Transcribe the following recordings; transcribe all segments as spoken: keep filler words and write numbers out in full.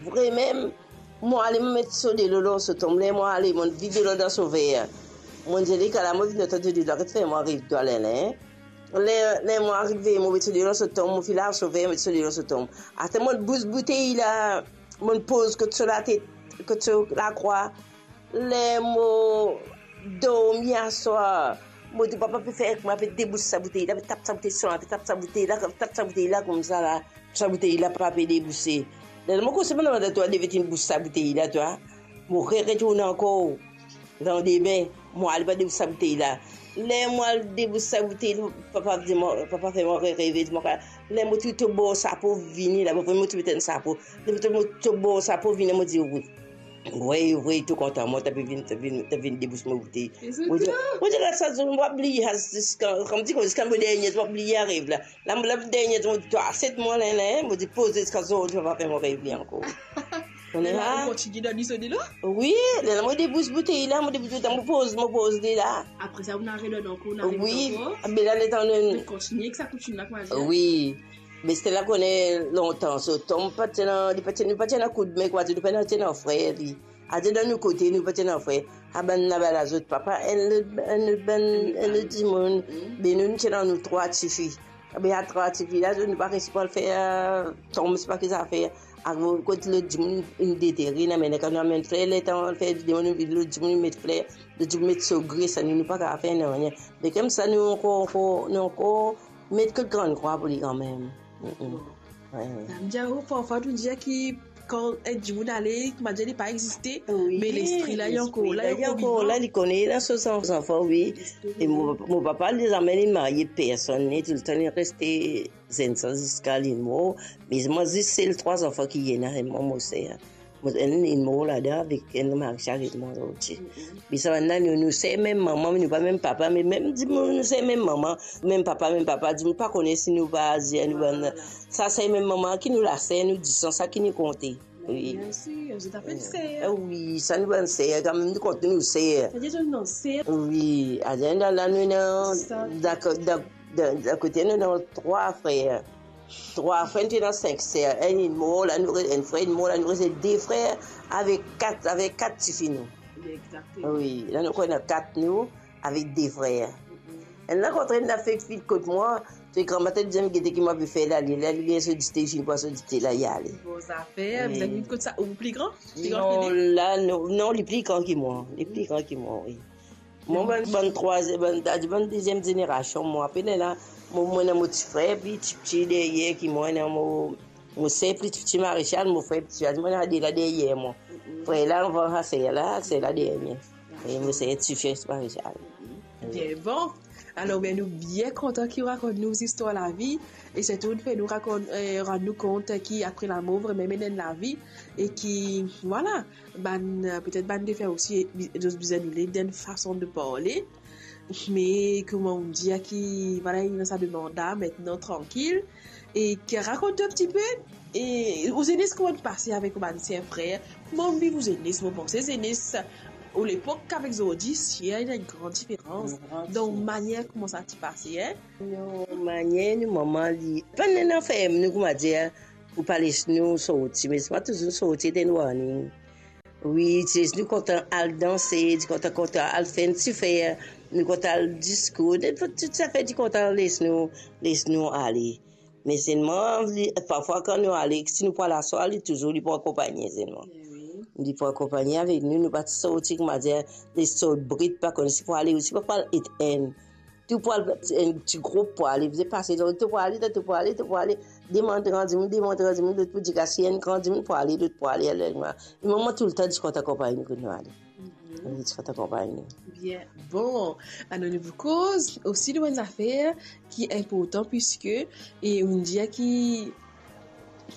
Vremem, mo ale, mo met so delo lor so tom. Ler mo ale, mo vid delo dan so ver. Mo dir li, "Kala, mo vinn otan dir li, get fer mo ariv twa, Lenlen." Ler, ler mo arive, mo met so delo lor so tom, mo finn lav so ver, met so delo lor so tom. Apre mo bous boutey la, mo poz kot so latet, kot so lakrwa. Ler mo dormi aswar, mo dir, "Papa, pe fer ek mwa, pe debous sa boutey la, pe tap sa boutey, sa, pe tap sa boutey la, tap sa boutey la koumsa la, sa boutey la pa pe debouse." Ler mo koz, "Mo demann twa, depi to inn bous sa boutey la, twa?" Mo re-, retourn ankor landime, mo al pa debous sa boutey la. Ler mo al debous sa boutey la, papa dir mwa, papa fer mwa re-, reve, dir mwa, ler mo ti to bor sapo vini la, mo ti met enn sapo. Depi to, mo to bor sapo vini, mo dir, "Wi." Wey, wey, tou kontan, mo, to pe vinn, to vinn, to vinn debous mo boutey. Mo dir, mo dir, "La, sa zour, mo pa bliye, ziska, kouma dir, ziska mo dernie zour, mo pa bliye ariv la." La, mo, la, dernie zour, mo dir, "Twa, aset mwa, Lenlen," mo dir, "poze ziska zordi, mo pa fer mo rev li ankor." Lerla, ou kontinie donn li so delo? Wi, lerla mo debous boutey la, mo debous boutey, mo poz, mo poz li la. Apre sa, ou inn redonn ankor, ou inn redonn ankor? Wi, be la, letan nou kontinie ek sa koutim la, kouma dir? Wi. Me se la, kone lontan, so tom pa ti ena, li pa ti, nou pa ti ena koudme, kouma dir, nou pa ti ena frer li. Adir dan nou kote, nou pa ti ena frer. A bann laba, lazot papa, enn lot, enn lot bann, enn lot dimoun. Be nou, nou ti ena nou trwa tifi. Be a trwa tifi la, nou pa resi pou al fer, eh, tom, se pa ki zafer. Akoz kot lot dimoun inn detere, inn amenn, kan nou amenn frer, letan nou al fer dimoun, nou vinn lot dimoun met frer, lot dimoun met so gre, sa nou, nou pa kapav fer nanye. Me koumsa nou ankor, ankor, nou ankor met kot Grann Krwa pou li kanmem. Mm, mm. Wi. Sa vedir, parfwa nou dir ki kan enn dimoun ale, kouma dir, li pa existe, me lespri la, li ankor la, li ankor vivan. Wi, lespri la, li ankor la, li kone, li ena so zanfan, wi. E mo, mo papa, li zame li marye personn, li toultan li reste zenn sa ziska li mor. Me mwa, zis sel trwa zanfan ki ena, mwa, mo ser. Mo, enn inn mor ladan avek enn marechal ek mwa zordi. Mm, mm. Me sa bann la, nou, nou ser mem mama, me nou pa mem papa, me mem dimoun, nou ser mem mama, mem papa, mem papa, dimoun pa kone si nou pa azir, nou bann, sa ser mem mama ki nou laser, nou disan, sa ki nou konte. Wi. Biensir, zot apel ser. Eh, wi, sa nou bann ser, kanmem nou kont nou ser. Savedir zot ena ser. Wi, adan la, la nou ena, dakor, dakor. Dan, dan kote nou, nou trwa frer. Trwa frer, nou ti ena sink ser. Enn inn mor, la nou re-, enn frer inn mor, la nou reste de frer avek kat, avek kat tifi nou. Exactement. Wi, la nou konn ena kat nou avek de frer. Mm-mm. Enn la kontre, enn la fek vinn kot mwa, se gran matin, li dir, "Gete ki mo pe fer la, li, la, li gagn so dite, li finn pran so dite la, li ale." Bon zafer, wi. Bizin vinn kot sa, ou pli gran? Pli gran ki li? Non, la, non, non, li pli gran ki mwa. Li pli gran ki mwa, wi. Mwa, bann, bann trwazie-, bann, ta dir bann deziem zenerasion, mwa, apena la, mo, mo ena mo ti frer pli tipti deryer ki mwa, ena mo, mo ser pli tipti Marechal, mo frer pli tipti, mwa, ena de la deryer mwa. Mm-mm. Frer la avan, ser la, ser la dernie. E mo ser ti frer Marechal. Bien, bon. Alor, bien, nou bien kontan ki ou rakont nou zistwar lavi, e sirtou ou fer nou rakont, eh, rann nou kont ki apre lamor, vremem ena enn lavi, e ki, vwala, bann, eh, petet bann defen osi, bi-, zot bizin nou led enn fason de parle. Me kouma ou dir ki, vwala, ena sa demann la, aster trankil. E ki rakont nou enn tipe, e ou zenes kouma ti pase avek ou bann ser frer? Kouma ou viv ou zenes? Mo panse zenes ou lepok avek zordi, si ena enn gran diferans. Enn gran diferans. Dan manier kouma sa ti pase, en? Nou manier, nou mama, li pa ena ferm nou, kouma dir, pou pa les nou sorti, me si pa touzour sorti, ti ena warning. Wi, ti les nou kontan al danse, ti kontan, kontan al fer enn ti fer, nou kontan al diskour, nenport tou zafer, ti kontan les nou, les nou ale. Me selman, li, parfwa kan nou ale, si nou pou al aswar, li touzour, li pou akonpagne selman. Wi. Li pou akonpagne avek nou, nou pa ti sorti, kouma dir, les sort brit, pa kone si pou ale osi, pa pou al et enn. Tou pou al, enn ti group pou ale, bizin pase, donk tou pou ale, tou pou ale, tou pou ale. Demann gran dimoun, demann gran dimoun, lot pou dir, si enn gran dimoun pou ale, lot pou ale, ale, ale. Me mama toultan ti kontan akonpagn nou kot nou ale. Mhm. Li ti kontan akonpagn nou. Bien. Bon, alor nou pou koz osi de bann zafer ki inportan, piske, e ou dir ki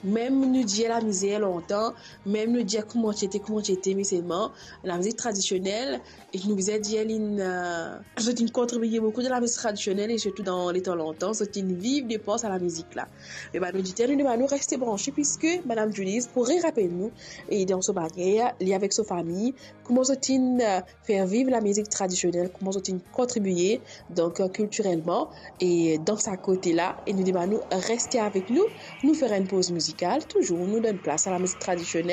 mem nou dir lamizer lontan, mem nou dir kouma ti ete, kouma ti ete, me selman lamizik tradisionel, e nou bizin dir li, eh, zot inn kontribie boukou dan lamizik tradisionel, e sirtou dan letan lontan, zot inn viv de par sa lamizik la. Me bann oditer, nou demann nou reste branche, piske Madam Julie pou re-rapel nou, e dan so manier, li avek so fami, kouma zot inn, eh, fer viv lamizik tradisionel, kouma zot inn kontribie, donk, eh, kiltirelman, e dan sa kote la, e nou demann nou reste avek nou, nou fer enn poz mizikal, touzour nou donn plas a lamizik tradisionel.